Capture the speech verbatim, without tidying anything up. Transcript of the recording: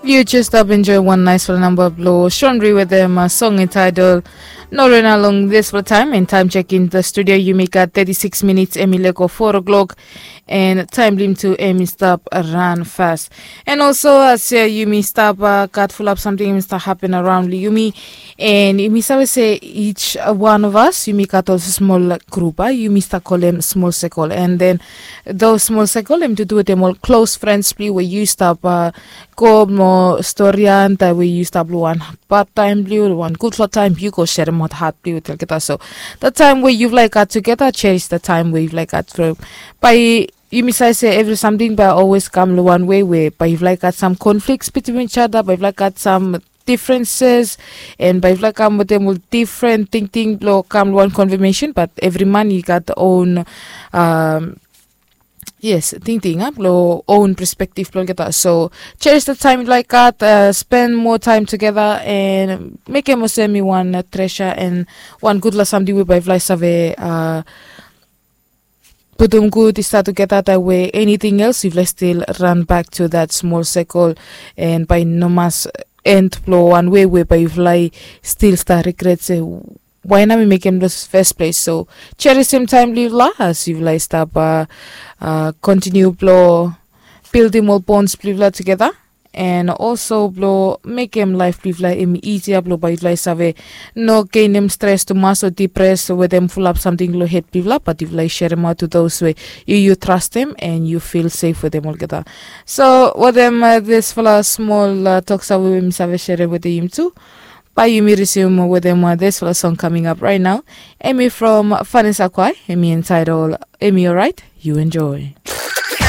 Yu jes stap enjoy wan naisfala namba blong Shonri wetem song entitled No Rena long dispela taim. And taim chek in the studio, yumi gat thirty-six minutes, em i lego four o'clock. And taim blim tu em i stap ran fast. And also as yumi stap gat fulap samting em i stap happen around long yumi. And yumi save se each one of us yumi gat ol smol grup, yumi stap kolem smol sekol. And then those smol sekol em tutu wetem ol close friends blong yu we yu stap go mo storian taim we yu stap long wan bad taim blong yu, wan gutpela taim yu go seremaot hat blong yu olgeta. So the time we yufala i gat tugeta, cherish the time we yufala i gat. Bai yumi save se evri samting bai always kam long wan wei we bai yufala i gat sam conflicts between each other, bai yufala i gat sam differences, and bai yufala i kam wetem ol different tingting blong kam long wan confirmation. But evri man i gat own um, yes, tingting a blong own perspective blong olgeta. So cherish the time yufala i gat, uh, spend more time together, and mekem olsem i wan uh, treasure and wan gutpela samting we bai yufala i save uh, putum gut i stap tugeta, that way anything else yufala still run back to that small circle. And bai no mas end blong wan wei we bai yufala i still start regret se why na mi mekem this first place. So cherisim taim blong yufala as yufala i stap uh, uh, continue blong buildim ol bonds blong yufala tugeta. And also blong mekem laif blong yufala em i easier blong bai yufala i save no gainim stres tumas o dipres wetem fulap samting long het blong yufala, but yufala i seremaot to those we yu yu trastim and yu fil safe wetem olgeta. So wetem uh, disfala smol uh, toksa we mi save serem wetem yumi tu, bai yumi risim wetem uh, disfala song coming up right now. Em i from Vanessa Kwai, em i entitled Em i Alright. You enjoy.